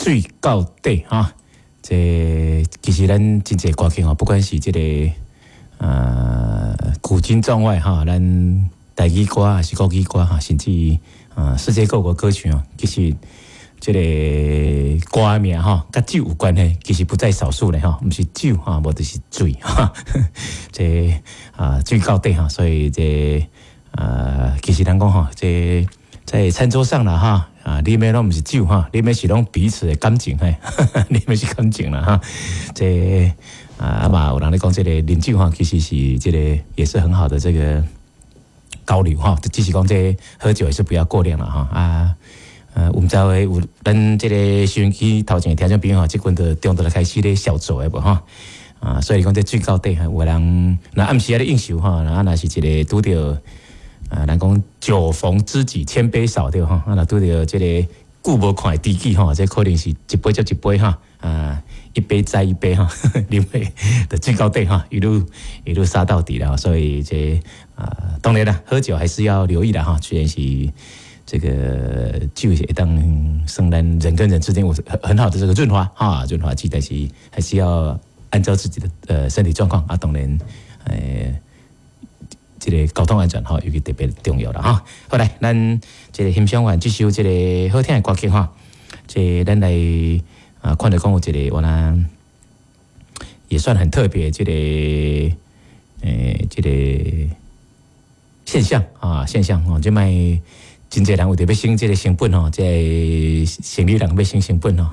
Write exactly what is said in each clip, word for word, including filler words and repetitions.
水到底哈。這其實咱真濟歌曲吼，不管是這個呃古今中外哈，咱台語歌還是國語歌哈，甚至啊世界各國歌曲哦，其實這個歌名吼，佮酒有關係，其實不在少數咧吼，毋是酒哈，無就是水哈，這啊水到底哈，所以這啊其實人講吼，這在餐桌上啦哈。啊，啉的攏毋是酒哈，啉的是攏彼此的感情嘿，啉的是感情啦哈。這啊嘛，有人咧講這個啉酒哈，其實是這個也是很好的這個交流哈。只是講這喝酒也是不要過量了哈。啊，呃，毋知會有咱這個收音機頭前的聽眾朋友，這陣就中晝開始咧小酌的無哈？啊，所以講這水到底有人若暗時仔咧應酬哈，啊，若是一個拄著。啊，人講酒逢知己千杯少對吼，啊，若拄著這個久無看的知己吼，這可能是一杯接一杯哈，啊，一杯再一杯哈，啉會就水到底哈，一路一路殺到底了。所以這啊，當然啦，喝酒還是要留意的哈，雖然是這個酒會當生咱人跟人之間有很很好的這個潤滑哈，潤滑劑，但是還是要按照自己的呃身體狀況啊，當然呃。這個交通安全吼，尤其特別重要啦哈。好來，咱這個欣賞完這首這個好聽的歌曲哈，這咱來啊看著講有一個我呢也算很特別，這個誒這個現象啊現象哦，這擺真濟人為著欲省這個成本吼，這個生理人欲省成本吼，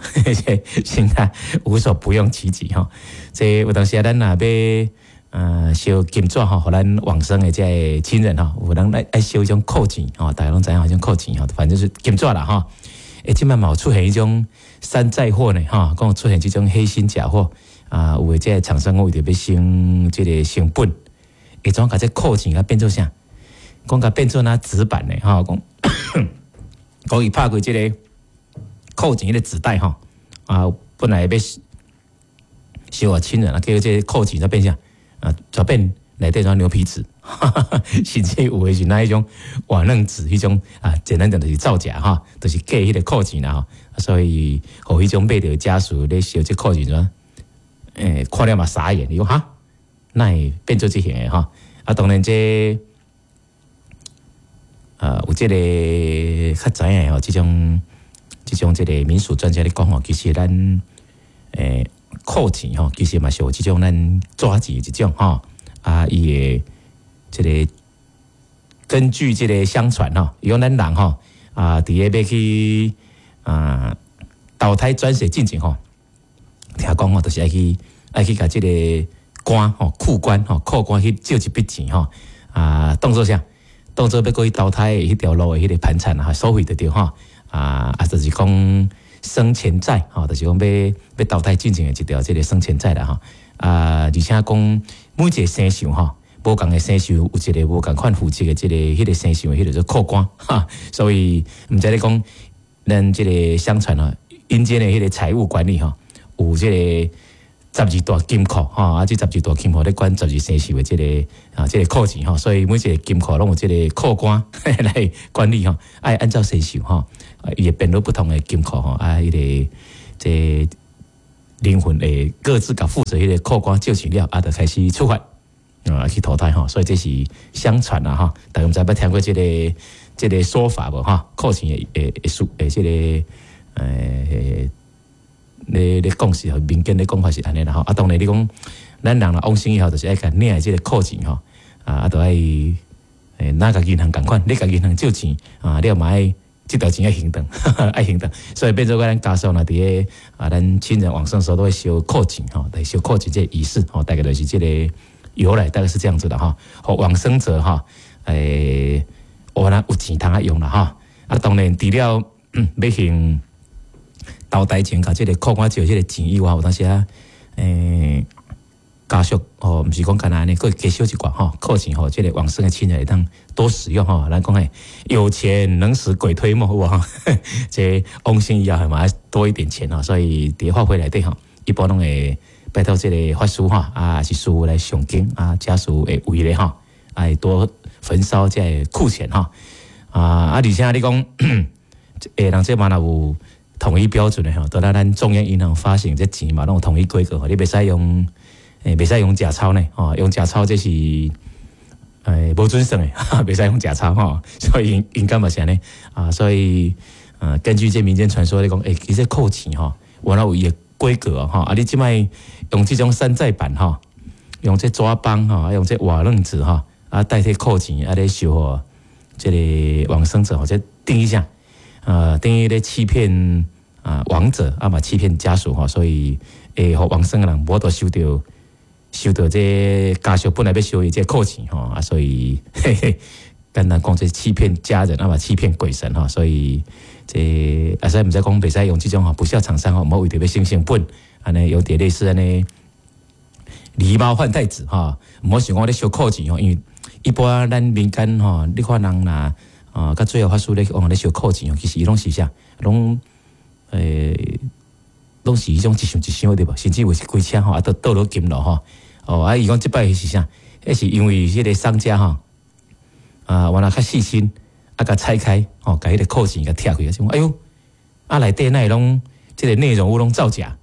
現在無所不用其極吼。這有當時啊，咱若欲呃，燒金紙吼，予咱往生的這個親人吼，有人愛愛燒彼種庫錢吼，大家攏知影彼種庫錢吼，反正是金紙啦吼。欸，這擺嘛有出現彼種山寨貨呢吼，講出現這種黑心假貨啊，有的這個廠商為著欲省這個成本，會怎共這庫錢共變做啥？講共變做那紙板的吼，講講伊拍開這個庫錢彼個紙袋吼，啊，本來欲燒予親人啊，結果這個庫錢就變啥？啊，就變內底裝牛皮紙，甚至有的是那彼種瓦楞紙，彼種啊，簡單講就是造假哈，就是假彼個庫錢啦吼，所以予彼種買著家屬咧燒這庫錢怎？欸，看了嘛傻眼，伊講哈，哪會變做這型的吼？啊，當然這呃有這個較知影的吼，這種這種這個民俗專家咧講吼，其實咱欸庫錢吼，其實嘛是有這種咱紙錢一種吼，啊，伊會這個根據這個相傳吼，伊講咱人吼啊，佇咧欲去啊投胎轉世進前吼，聽講吼，就是愛去愛去共這個官吼庫官吼庫官去借一筆錢吼啊，當做啥？當做欲過去投胎的彼條路的彼個盤纏啊，收費就對吼啊啊，就是講生前債吼，就是講欲欲投胎進前的一條這個生前債啦吼啊，而且講每一個生肖吼，無仝的生肖有一個無仝款負責的這個彼個生肖，彼個做庫官哈，所以毋知咧講咱這個相傳吼，陰間的彼個財務管理吼，有這個十二大金庫吼，啊，這十二大金庫咧管十二生肖的這個啊，這個庫錢吼，所以每一個金庫攏有這個庫官來管理吼，愛按照生肖吼，伊會編入不同的金庫吼，啊，彼個這靈魂會各自共負責彼個庫官借錢了，啊，就開始出發啊去投胎吼，所以這是相傳啦吼，大家毋知捌聽過這個這個說法無吼？庫錢的的的說的這個呃。咧咧講是民間咧講法是按呢啦吼，啊當然你講咱人若往生以後，就是愛共領的這個庫錢吼，啊啊著愛欸若共銀行仝款，你共銀行借錢啊，你嘛愛這條錢愛還轉，愛還轉，所以變做咱家屬若佇咧啊，咱親人往生時候都會燒庫錢吼，來燒庫錢這個儀式吼，大概就是這個由來，大概是這樣子的哈。予往生者吼，欸，有啦有錢通啊用啦吼，啊當然除了欲還投胎前共這個庫官借這個錢以外，有當時啊，欸，家屬哦，毋是講干焦按呢，閣加燒一寡吼，庫錢予這個往生的親人會當多使用吼。咱講的有錢能使鬼推磨，有無吼？這往生以後嘛愛多一點錢吼，所以佇法會內底吼，一般攏會拜託這個法師吼，啊是師父來誦經啊，家屬會為咧吼，愛多焚燒這個庫錢吼。啊啊，而且你講，欸，人這嘛若有統一標準的吼，都咱咱中央銀行發行這錢嘛，攏有統一規格吼，你袂使用，欸，袂使用假鈔呢，吼，用假鈔這是，欸，無準算的，袂使用假鈔吼，所以應該嘛是按呢啊，所以，呃，根據這民間傳說咧講，欸，其實扣錢吼，原來有伊的規格吼，啊，你這擺用這種山寨版吼，用這紙枋吼，用這瓦楞紙吼，啊，代替扣錢，啊，咧收予這个往生者，或者定義啥，呃，等於咧欺騙啊亡者，啊嘛欺騙家屬吼，所以會予往生的人無法度收著收著這家屬本來欲收伊這扣錢吼，啊，所以嘿嘿，簡單講這欺騙家人，啊嘛欺騙鬼神吼，所以這啊，所以毋知講袂使用這種吼不肖廠商吼，毋好為著欲省成本，按呢有點類似按呢狸貓換太子吼，毋好想講咧收扣錢吼，因為一般咱民間吼，你看人若啊，較最後法師咧往咧收扣錢吼，其實伊攏是啥，攏欸，攏是彼種一箱一箱對無？甚至有是規車吼，啊，都倒落金囉吼。哦，啊，伊講這擺是啥？彼是因為彼个商家吼，啊，原來較細心，啊，共拆開吼，共彼个扣錢共拆開，想講哎喲，啊內底哪會攏這个內容物攏造假，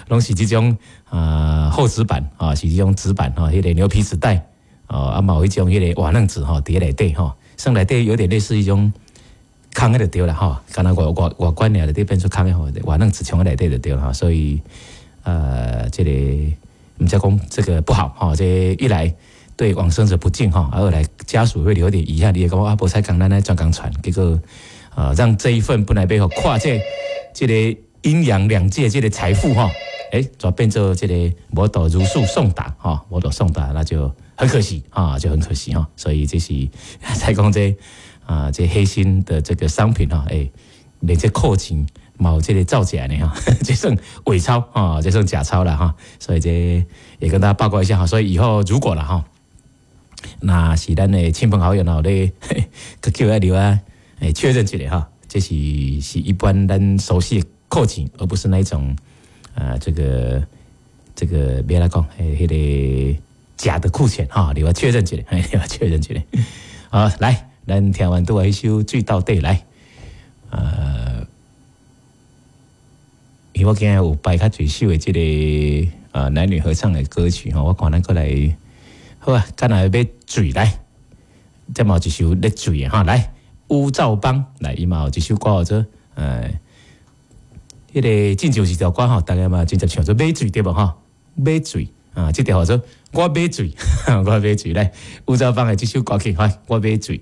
攏是這種啊厚紙板啊，是這種紙板吼，彼个牛皮紙袋。哦，啊嘛有彼種彼个瓦楞紙吼，佇內底吼，算內底有點類似彼種空的就對啦吼，敢若外外外觀爾就變出空的吼，瓦楞紙藏佇內底就對啦，所以呃，這个毋知講這個不好吼，這一來對往生者不敬吼，二來家屬會留點遺憾，你會感覺啊，無彩工咱來轉工傳，結果呃，讓這一份本來欲予跨界這个陰陽兩界這个財富吼，欸，就變做這个無法度如數送達吼，無法度送達，那就很可惜啊，就很可惜哈。所以這是在講這啊，這黑心的這個商品哈，欸，連這扣錢嘛有這个造假的哈，這算偽鈔啊，這算假鈔了哈。所以這也跟大家報告一下哈。所以以後如果了哈，那是咱的親朋好友喏咧，去叫來留啊，欸，確認一下哈，這是是一般咱熟悉的扣錢，而不是那一種啊，這個這個欲按怎講，欸，彼个假的庫錢哈，你要確認一下，你要確認一下。好，來，咱聽完拄仔彼首《水鬥底》來，呃，因為我今日有排較濟首的這个呃男女合唱的歌曲吼，我看咱閣來，好啊，敢若欲水來，這嘛有一首咧水的哈，來烏罩邦來，伊嘛有一首歌叫做呃，彼个進前有一條歌吼，大家嘛真濟唱做買水對無吼？買水啊，這條叫做我買水，我買水來，烏罩邦的這首歌曲，來，我買水。